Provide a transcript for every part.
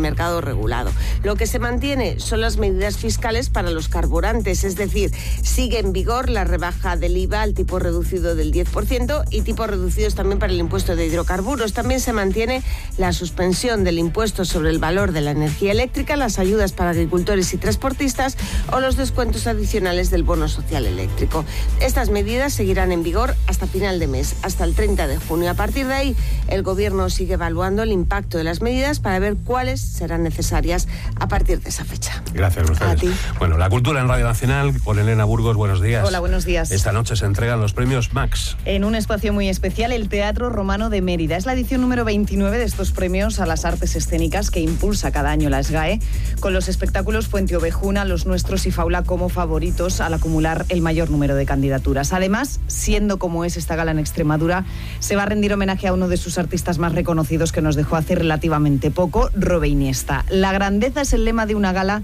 mercado regulado. Lo que se mantiene son las medidas fiscales para los carburantes, es decir, sigue en vigor la rebaja del IVA al tipo reducido del 10% y tipos reducidos también para el impuesto de hidrocarburos. También se mantiene la suspensión del impuesto sobre el valor de la energía eléctrica, las ayudas para agricultores y transportistas o los descuentos adicionales del bono social eléctrico. Estas medidas seguirán en vigor hasta final de mes, hasta el 30 de junio. A partir de ahí, el Gobierno sigue evaluando el impacto de las medidas para ver cuáles serán necesarias a partir de esa fecha. Gracias, Mercedes. A ti. Bueno, la cultura en Radio Nacional con Elena Burgos, buenos días. Hola, buenos días. Esta noche se entregan los premios Max. En un espacio muy especial, el Teatro Romano de Mérida. Es la edición número 29 de estos premios a las artes escénicas que impulsa cada año la SGAE, con los espectáculos Fuente Ovejuna, Los Nuestros y Faula como favoritos al acumular el mayor número de candidaturas. Además, siendo como es esta gala en Extremadura, se va a rendir homenaje a uno de sus artistas más reconocidos que nos dejó hace relativamente poco, Robe Iniesta. La grandeza es el lema de una gala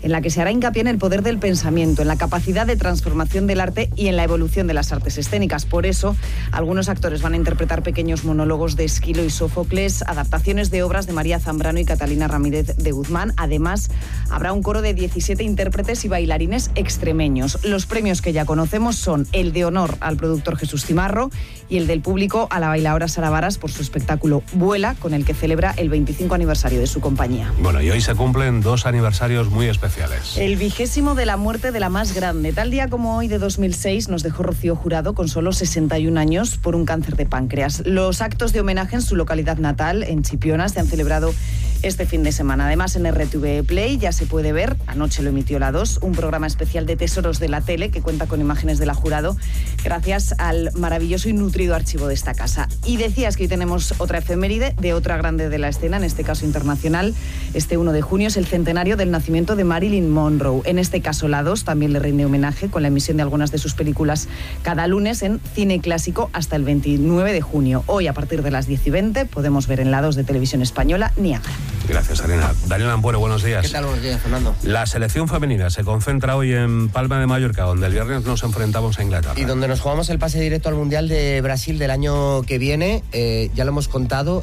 en la que se hará hincapié en el poder del pensamiento, en la capacidad de transformación del arte y en la evolución de las artes escénicas. Por eso, algunos actores van a interpretar pequeños monólogos de Esquilo y Sófocles, adaptaciones de obras de María Zambrano y Catalina Ramírez de Guzmán. Además, habrá un coro de 17 intérpretes y bailarines extremeños. Los premios que ya conocemos son el de honor al productor Jesús Cimarro y el del público a la bailaora Sara Varas por su espectáculo Vuela, con el que celebra el 25 aniversario de su compañía. Bueno, y hoy se cumplen 2 aniversarios muy especiales. El 20º de la muerte de la más grande. Tal día como hoy de 2006 nos dejó Rocío Jurado con solo 61 años por un cáncer de páncreas. Los actos de homenaje en su localidad natal, en Chipiona, se han celebrado este fin de semana. Además, en RTV Play ya se puede ver, anoche lo emitió la 2, un programa especial de Tesoros de la Tele que cuenta con imágenes de la Jurado gracias al maravilloso y nutrido archivo de esta casa. Y decías que hoy tenemos otra efeméride de otra grande de la escena, en este caso internacional. Este 1 de junio es el centenario del nacimiento de Marilyn Monroe. En este caso, la 2 también le rinde homenaje con la emisión de algunas de sus películas cada lunes en Cine Clásico hasta el 29 de junio. Hoy, a partir de las 10:20, podemos ver en la 2 de Televisión Española Niágara. Gracias, Elena. Daniel Ampuero, buenos días. ¿Qué tal? Buenos días, Fernando. La selección femenina se concentra hoy en Palma de Mallorca, donde el viernes nos enfrentamos a Inglaterra. Y donde nos jugamos el pase directo al Mundial de Brasil del año que viene. Ya lo hemos contado,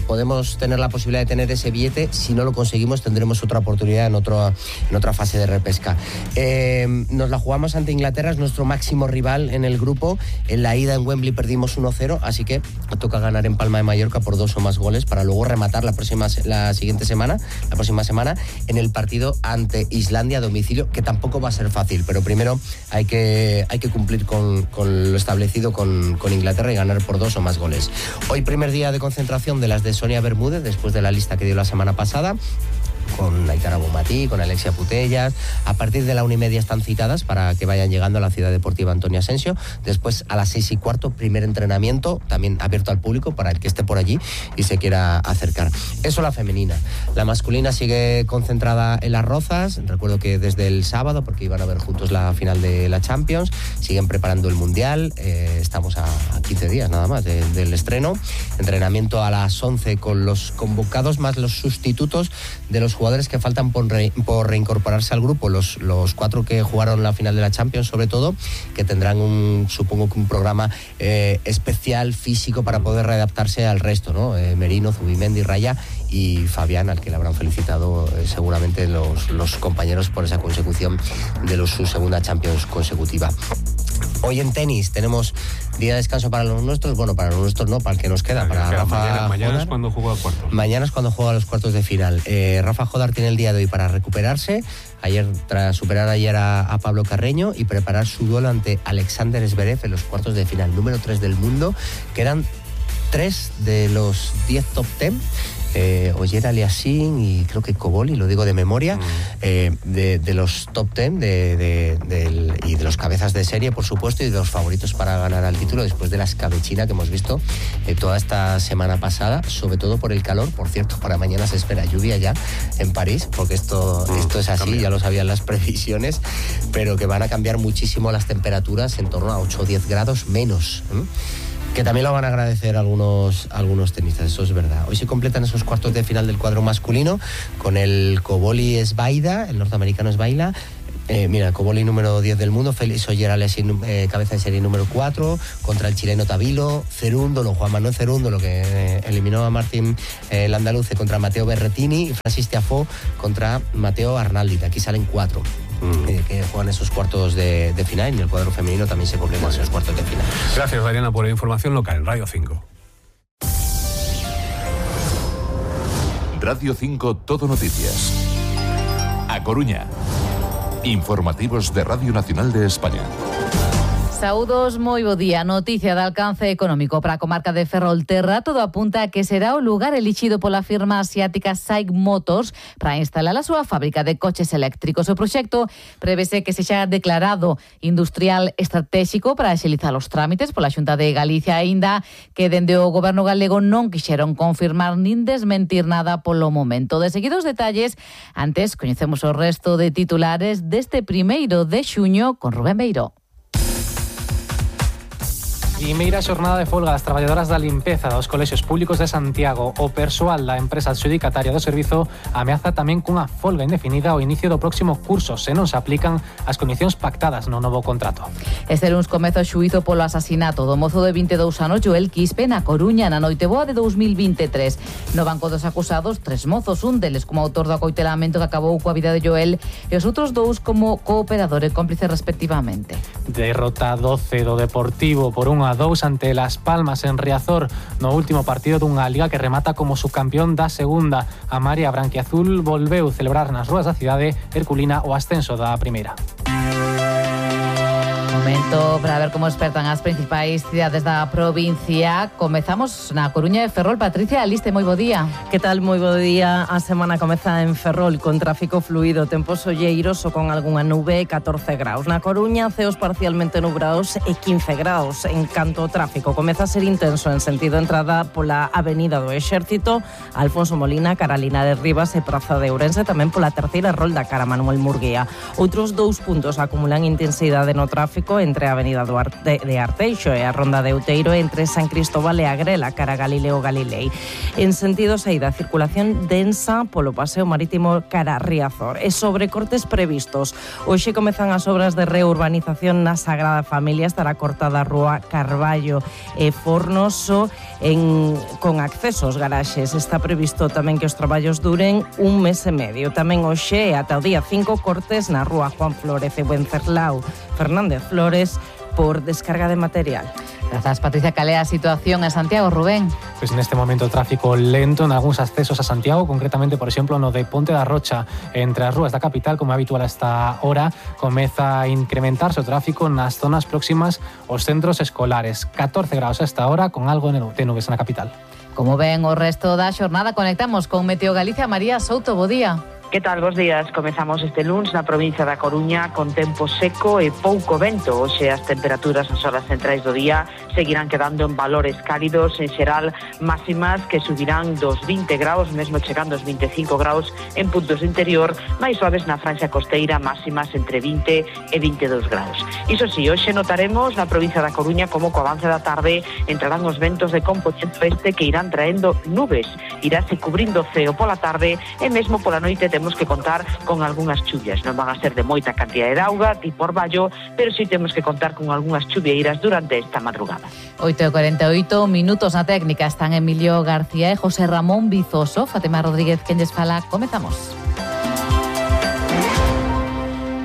podemos tener la posibilidad de tener ese billete. Si no lo conseguimos, tendremos otra oportunidad en otra fase de repesca. Nos la jugamos ante Inglaterra, es nuestro máximo rival en el grupo. En la ida en Wembley perdimos 1-0, así que toca ganar en Palma de Mallorca por 2 o más goles para luego rematar la próxima semana en el partido ante Islandia a domicilio, que tampoco va a ser fácil, pero primero hay que cumplir con lo establecido con Inglaterra y ganar por 2 o más goles. Hoy primer día de concentración de las de Sonia Bermúdez, después de la lista que dio la semana pasada, con Aitana Bonmatí, con Alexia Putellas. A partir de la 1:30 están citadas para que vayan llegando a la Ciudad Deportiva Antonio Asensio. Después, a las 6:15, primer entrenamiento, también abierto al público para el que esté por allí y se quiera acercar. Eso la femenina. La masculina sigue concentrada en Las Rozas. Recuerdo que desde el sábado, porque iban a ver juntos la final de la Champions, siguen preparando el Mundial. Estamos a 15 días nada más del estreno. Entrenamiento a las 11 con los convocados más los sustitutos de los jugadores que faltan por reincorporarse al grupo, los 4 que jugaron la final de la Champions, sobre todo, que tendrán supongo que un programa especial físico para poder readaptarse al resto, ¿no? Merino, Zubimendi, Raya y Fabián, al que le habrán felicitado seguramente los compañeros por esa consecución de su segunda Champions consecutiva. Hoy en tenis tenemos día de descanso para los nuestros. Bueno, para los nuestros no, para el que nos queda. Para Rafa mañana es cuando juega cuartos. Mañana es cuando juega los cuartos de final. Rafa Jodar tiene el día de hoy para recuperarse. Tras superar ayer a Pablo Carreño y preparar su duelo ante Alexander Zverev en los cuartos de final, número 3 del mundo. Quedan 3 de los 10 top 10. Oyer Aliassime y creo que Koboli, lo digo de memoria, de los top 10 y de los cabezas de serie, por supuesto, y de los favoritos para ganar al título después de la escabechina que hemos visto toda esta semana pasada, sobre todo por el calor. Por cierto, para mañana se espera lluvia ya en París, porque esto es así, cambia. Ya lo sabían las previsiones, pero que van a cambiar muchísimo las temperaturas, en torno a 8 o 10 grados menos, que también lo van a agradecer algunos tenistas, eso es verdad. Hoy se completan esos cuartos de final del cuadro masculino con el Koboli Svaida, el norteamericano Svaida, Mira, Coboli número 10 del mundo, Félix Oyer-Aliassime cabeza de serie número 4, contra el chileno Tabilo, Cerúndolo, Juan Manuel Cerúndolo, que eliminó a Martín Landaluce, contra Matteo Berrettini, y Francis Tiafoe contra Matteo Arnaldi. De aquí salen 4 que juegan esos cuartos de final, y el cuadro femenino también se completa en esos cuartos de final. Gracias, Dariana, por la información local en Radio 5. Radio 5 Todo Noticias. A Coruña. Informativos de Radio Nacional de España. Saúdos, moi bo día. Noticia de alcance económico para a comarca de Ferrolterra. Todo apunta a que será o lugar elixido pola firma asiática SAIC Motors para instalar a súa fábrica de coches eléctricos. O proxecto prevese que sexa declarado industrial estratégico para axilizar os trámites pola Xunta de Galicia, aínda que dende o goberno galego non quixeron confirmar nin desmentir nada polo momento. De seguidos detalles, antes coñecemos o resto de titulares deste 1 de xuño con Rubén Beiró. Primeira xornada de folga das traballadoras da limpeza dos colexios públicos de Santiago. O persoal da empresa adxudicataria do servizo ameaza tamén cunha folga indefinida ao inicio do próximo curso se non se aplican as condicións pactadas no novo contrato. Este luns comeza o xuízo polo asasinato do mozo de 22 anos Joel Quispe na Coruña na noite boa de 2023. No banco dos acusados, 3 mozos, un deles como autor do acoitelamento que acabou coa vida de Joel e os outros 2 como cooperador e cómplice respectivamente. Derrota 12 do Deportivo por 1-2 ante Las Palmas en Riazor no último partido dunha liga que remata como subcampeón da segunda. A María Branquiazul volveu celebrar nas rúas da cidade herculina o ascenso da primeira. Momento para ver como despertan as principais cidades da provincia. Comezamos na Coruña de Ferrol. Patricia Aliste, moi bo día. Que tal? Moi bo día. A semana comeza en Ferrol con tráfico fluido, tempos olleiros ou con algunha nube, 14 graus. Na Coruña, ceos parcialmente nubrados e 15 graus. En canto ao tráfico, comeza a ser intenso en sentido entrada pola Avenida do Exército, Alfonso Molina, cara Linares Rivas e Praza de Ourense, tamén pola terceira rolda cara Manuel Murguía. Outros 2 puntos acumulan intensidade no tráfico entre a Avenida de Arteixo e a Ronda de Outeiro, entre San Cristóbal e Agrela, cara Galileo Galilei. En sentido saída, circulación densa polo paseo marítimo cara Riazor e sobrecortes previstos. Hoxe comezan as obras de reurbanización na Sagrada Familia. Estará cortada a rúa Carballo e Fornoso con accesos garaxes. Está previsto tamén que os traballos duren 1 mes e medio. Tamén hoxe ata o día 5 cortes na rúa Juan Flórez e Wenceslao Fernández Flores por descarga de material. Grazas, Patricia. Cal é a situación en Santiago, Rubén? Pois neste momento o tráfico lento en algúns accesos a Santiago, concretamente, por exemplo, no de Ponte da Rocha, entre as rúas da capital, como é habitual a esta hora, comeza a incrementarse o tráfico nas zonas próximas aos centros escolares. 14 graus a esta hora, con algo de nubes na capital. Como ven o resto da xornada, conectamos con Meteo Galicia. María Souto, bo día. Que tal, bos días? Comezamos este luns na provincia da Coruña con tempo seco e pouco vento. Hoxe as temperaturas nas horas centrais do día seguirán quedando en valores cálidos, en xeral máximas que subirán dos 20 graus, mesmo chegando aos 25 graus en puntos do interior, máis suaves na franxa costeira, máximas entre 20 e 22 graus. Iso sí, hoxe notaremos na provincia da Coruña como co avance da tarde entrarán os ventos de componente oeste que irán traendo nubes, iráse cubrindo o ceo pola tarde e mesmo pola noite temos que contar con algunhas chuvias. Non van a ser de moita cantidade de auga, tipo orballo, pero sí temos que contar con algunhas chuvieiras durante esta madrugada. 8:48 minutos na técnica. Están Emilio García e José Ramón Vizoso. Fátima Rodríguez, quen lles fala. Comezamos.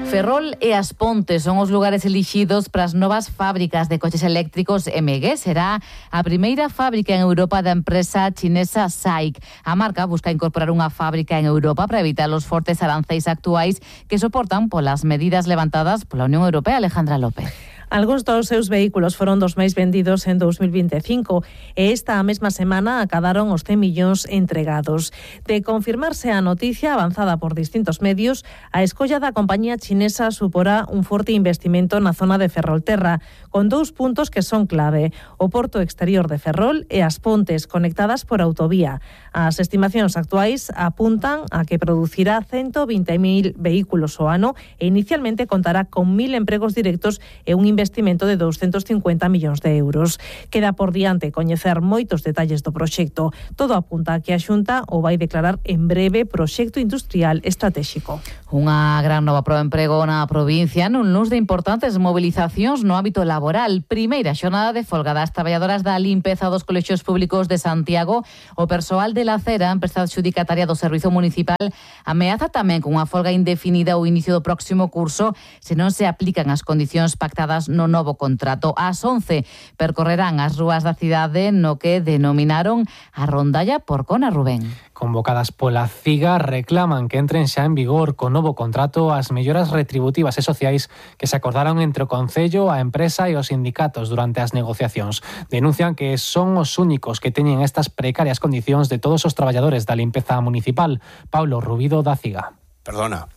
Ferrol e As Pontes son os lugares elixidos para as novas fábricas de coches eléctricos MG. Será a primeira fábrica en Europa da empresa chinesa SAIC. A marca busca incorporar unha fábrica en Europa para evitar os fortes aranceis actuais que soportan polas medidas levantadas pola Unión Europea. Alejandra López. Algúns dos seus vehículos foron dos máis vendidos en 2025 e esta mesma semana acadaron os 100 millóns entregados. De confirmarse a noticia avanzada por distintos medios, a escolla da compañía chinesa suporá un forte investimento na zona de Ferrolterra, con 2 puntos que son clave: o porto exterior de Ferrol e As Pontes, conectadas por autovía. As estimacións actuais apuntan a que producirá 120.000 vehículos ao ano e inicialmente contará con 1.000 empregos directos e un investimento de 250 millóns de euros. Queda por diante coñecer moitos detalles do proxecto. Todo apunta a que a Xunta o vai declarar en breve proxecto industrial estratégico. Unha gran nova proba de emprego na provincia nun luns de importantes movilizacións no ámbito laboral. Primeira xornada de folga das traballadoras da limpeza dos colexios públicos de Santiago. O persoal de la Cera, empresa adxudicataria do Servizo Municipal, ameaza tamén con unha folga indefinida ao inicio do próximo curso se non se aplican as condicións pactadas no novo contrato. Ás 11 percorrerán as rúas da cidade no que denominaron a rondalla Porcona, Rubén. Convocadas pola CIGA, reclaman que entren xa en vigor co novo contrato as melloras retributivas e sociais que se acordaron entre o Concello, a empresa e os sindicatos durante as negociacións. Denuncian que son os únicos que teñen estas precarias condicións de todos os traballadores da limpeza municipal. Paulo Rubido, da CIGA. Perdona,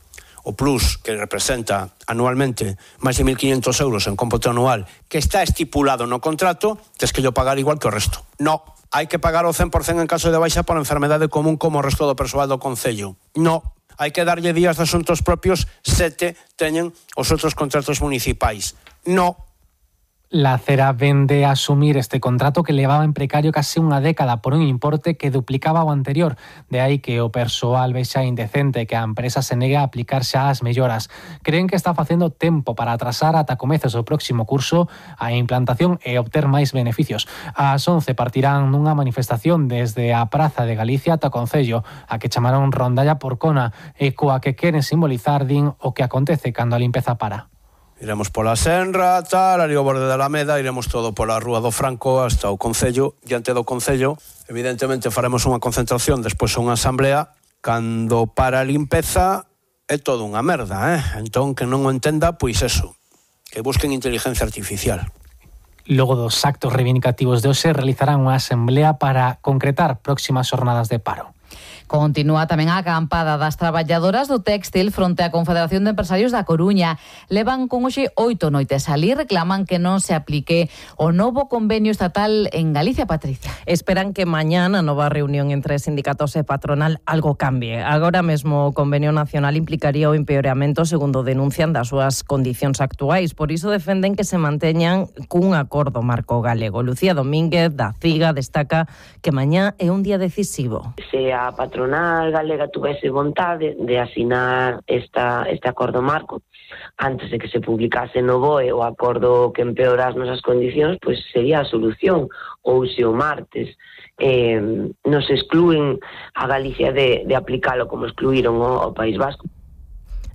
o plus que representa anualmente máis de 1.500 euros en cómputo anual que está estipulado no contrato, tes que yo pagar igual que o resto. No, hai que pagar o 100% en caso de baixa por enfermedade común como o resto do persoal do Concello. No, hai que darlle días de asuntos propios 7 teñen os outros contratos municipais. No. La Cera vende a asumir este contrato que levaba en precario case unha década por un importe que duplicaba o anterior. De aí que o persoal vexa indecente que a empresa se negue a aplicar xa as melloras. Creen que está facendo tempo para atrasar ata comezos do próximo curso a implantación e obter máis beneficios. Ás 11 partirán nunha manifestación desde a Praza de Galicia ata o Concello, a que chamaron Rondalla Porcona, e coa que queren simbolizar, din, o que acontece cando a limpeza para. Iremos pola Senra, tal, ali ao borde da Alameda, iremos todo pola Rúa do Franco hasta o Concello. Diante do Concello, evidentemente, faremos unha concentración, despois unha asamblea. Cando para a limpeza é todo unha merda, Entón, que non o entenda, pois eso, que busquen inteligencia artificial. Logo dos actos reivindicativos de hoxe, realizarán unha asamblea para concretar próximas xornadas de paro. Continúa tamén a acampada das traballadoras do téxtil fronte á Confederación de Empresarios da Coruña. Levan con hoxe 8 noites alí, reclaman que non se aplique o novo convenio estatal en Galicia, Patricia. Esperan que mañá na nova reunión entre sindicatos e patronal algo cambie. Agora mesmo o convenio nacional implicaría o empeoramento, segundo denuncian, das súas condicións actuais. Por iso defenden que se manteñan cun acordo marco galego. Lucía Domínguez, da CIGA, destaca que mañá é un día decisivo. Se a patronal galega tuvese vontade de asinar este acordo marco antes de que se publicase no BOE o acordo que empeora as nosas condicións, pois sería a solución. Ou se o martes nos exclúen a Galicia de aplicalo como excluíron o País Vasco.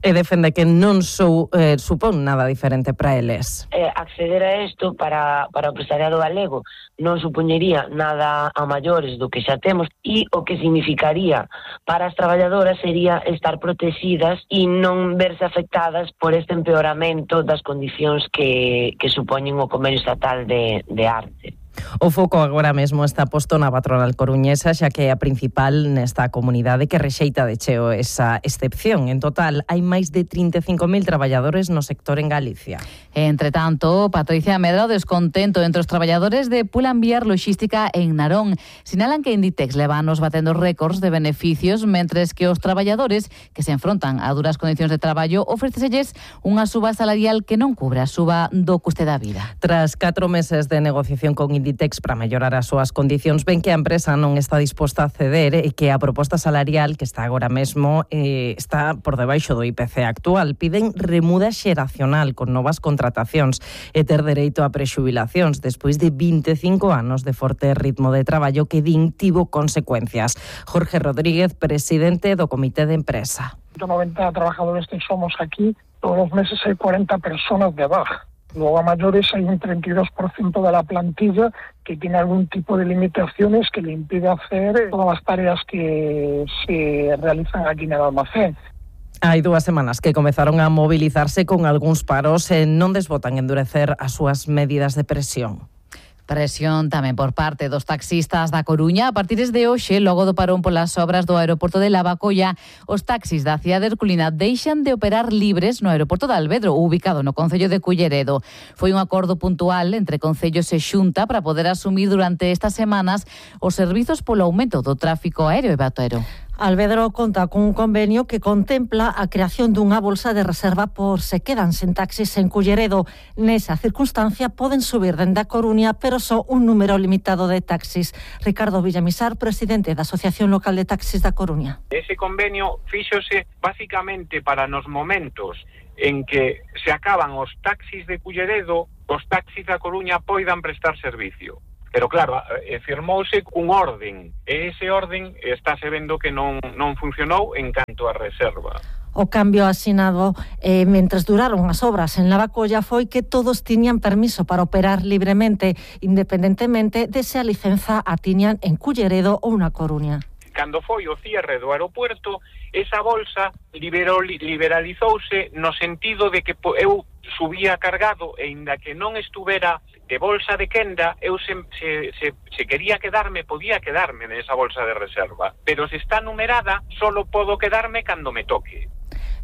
E defende que non supón nada diferente para eles. Acceder a isto para o empresariado galego non supoñería nada a maiores do que xa temos, e o que significaría para as traballadoras sería estar protegidas e non verse afectadas por este empeoramento das condicións que supoñen o convenio estatal de arte. O foco agora mesmo está posto na patronal coruñesa, xa que é a principal nesta comunidade que rexeita de cheo esa excepción. En total, hai máis de 35.000 traballadores no sector en Galicia. Entre tanto, Patricia medra o descontento entre os traballadores de Pull&Bear Logística en Narón. Sinalan que Inditex leva anos batendo récords de beneficios, mentres que os traballadores que se enfrontan a duras condicións de traballo ofreceselles unha suba salarial que non cubre a suba do custe da vida. Tras 4 meses de negociación con Inditex para mellorar as súas condicións, ven que a empresa non está disposta a ceder e que a proposta salarial que está agora mesmo está por debaixo do IPC actual. Piden remuda xeracional con novas contratacións e ter dereito a prexubilacións despois de 25 anos de forte ritmo de traballo que din tivo consecuencias. Jorge Rodríguez, presidente do Comité de Empresa. 90 trabajadores que somos aquí, todos los meses hay 40 personas de baja. Luego a mayores hay un 32% de la plantilla que tiene algún tipo de limitaciones que le impide hacer todas las tareas que se realizan aquí en el almacén. Hai 2 semanas que comezaron a mobilizarse con algúns paros e non desbotan endurecer as súas medidas de presión. Presión tamén por parte dos taxistas da Coruña. A partir de hoxe, logo do parón polas obras do aeroporto de Lavacolla, os taxis da cidade herculina deixan de operar libres no aeroporto de Alvedro, ubicado no concello de Culleredo. Foi un acordo puntual entre concellos e Xunta para poder asumir durante estas semanas os servizos polo aumento do tráfico aéreo e batero. Alvedro conta con un convenio que contempla a creación dunha bolsa de reserva por se quedan sen taxis en Culleredo. Nesa circunstancia poden subir dende a Coruña, pero só un número limitado de taxis. Ricardo Villamisar, presidente da Asociación Local de Taxis da Coruña. Ese convenio fíxose basicamente para nos momentos en que se acaban os taxis de Culleredo, os taxis da Coruña poidan prestar servicio. Pero claro, firmouse un orden, e ese orden estáse vendo que non funcionou en canto a reserva. O cambio asinado mentres duraron as obras en Lavacolla foi que todos tiñan permiso para operar libremente, independentemente de se a licenza a tiñan en Culleredo ou na Coruña. Cando foi o cierre do aeropuerto, esa bolsa liberalizouse no sentido de que eu subía cargado e inda que non estuvera de bolsa de quenda, eu se quería quedarme, podía quedarme nesa bolsa de reserva, pero se está numerada, solo podo quedarme cando me toque.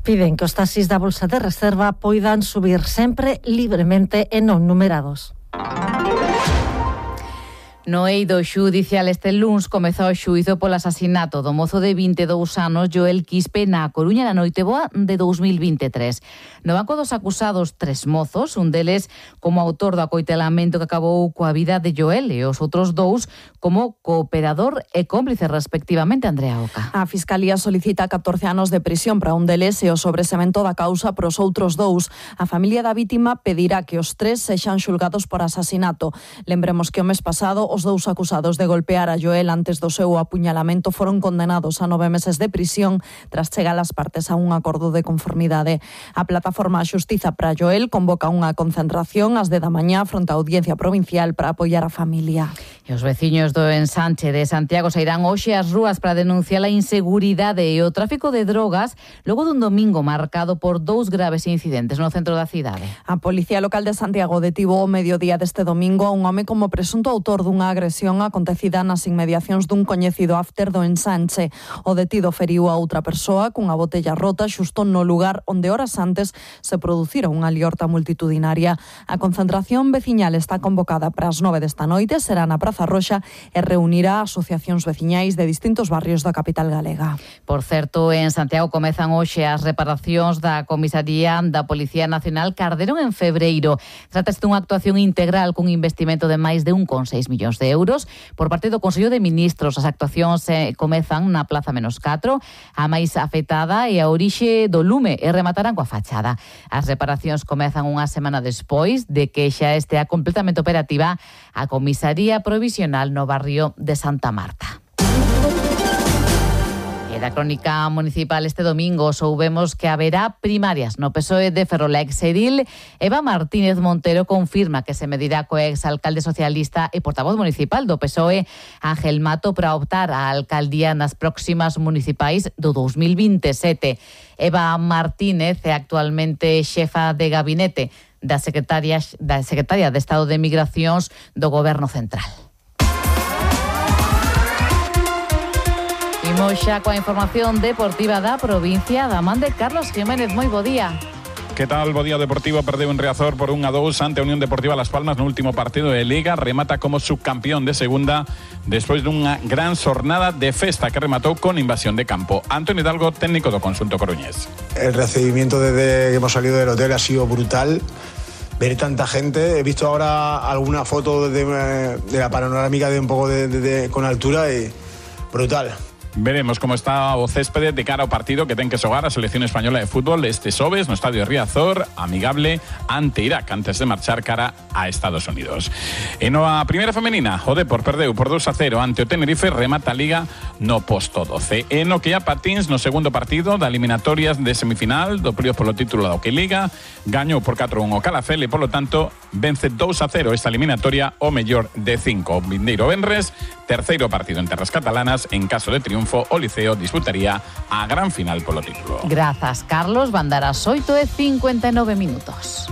Piden que os taxis da bolsa de reserva poidan subir sempre libremente e non numerados. No eido xudicial este luns comezou o xuízo polo asasinato do mozo de 22 anos Joel Quispe na Coruña na Noiteboa de 2023. No banco dos acusados 3 mozos, un deles como autor do acoitelamento que acabou coa vida de Joel e os outros 2 como cooperador e cómplice respectivamente. Andrea Oca. A Fiscalía solicita 14 anos de prisión para un deles e o sobresemento da causa para os outros 2. A familia da vítima pedirá que os 3 sexan xulgados por asasinato. Lembremos que o mes pasado os 2 acusados de golpear a Joel antes do seu apuñalamento foron condenados a 9 meses de prisión tras chegar as partes a un acordo de conformidade. A plataforma Xustiza para Joel convoca unha concentración ás 10 da mañá fronte á Audiencia Provincial para apoiar a familia. E os veciños do ensanche de Santiago sairán hoxe ás rúas para denunciar a inseguridade e o tráfico de drogas logo dun domingo marcado por 2 graves incidentes no centro da cidade. A Policía Local de Santiago detivo ao mediodía deste domingo a un home como presunto autor dunha agresión acontecida nas inmediacións dun coñecido after do ensanche. O detido feriu a outra persoa cunha botella rota xusto no lugar onde horas antes se producira unha liorta multitudinaria. A concentración veciñal está convocada para as 9 desta noite, será na Praza Roxa e reunirá asociacións veciñais de distintos barrios da capital galega. Por certo, en Santiago comezan hoxe as reparacións da comisaría da Policía Nacional Carderon en febreiro. Trátase dunha actuación integral cun investimento de máis de 1,6 millóns de euros por parte do Consello de Ministros. As actuacións comezan na Plaza Menos 4, a máis afectada e a orixe do lume e rematarán coa fachada. As reparacións comezan unha semana despois de que xa estea completamente operativa a comisaría provisional no barrio de Santa Marta. Da crónica municipal este domingo soubemos que haberá primarias no PSOE de Ferrol. A exedil Eva Martínez Montero confirma que se medirá co exalcalde socialista e portavoz municipal do PSOE Ángel Mato para optar á alcaldía nas próximas municipais do 2027. Eva Martínez é actualmente xefa de gabinete da Secretaria de Estado de Migracións do Goberno Central. Imos xa coa información deportiva da provincia da man de Carlos Jiménez. Moi bo día. Que tal? Bo día. Deportivo perdeu en Riazor por 1-2 ante a Unión Deportiva Las Palmas no último partido de Liga. Remata como subcampeón de segunda despois dunha gran xornada de festa que rematou con invasión de campo. Antonio Hidalgo, técnico do conxunto coruñés. El recibimiento desde que hemos salido del hotel ha sido brutal. Ver tanta gente, he visto ahora alguna foto de la panorámica de un poco con altura y brutal. Veremos como está o céspede de cara ao partido que ten que xogar a selección española de fútbol este xoves no estadio de Riazor, amigable ante Irak antes de marchar cara a Estados Unidos. E na primeira femenina, o Depor perdeu por 2-0 ante o Tenerife, remata a Liga no posto 12. E no que a patins no segundo partido da eliminatorias de semifinal do período polo título da Hockey Liga, gañou por 4-1 o Calafel e polo tanto vence 2-0 esta eliminatoria o mellor de 5. Vindeiro venres, terceiro partido en terras catalanas, en caso de triunfo o Liceo disputaría a gran final polo título. Grazas, Carlos. Van dar as 8:59 minutos.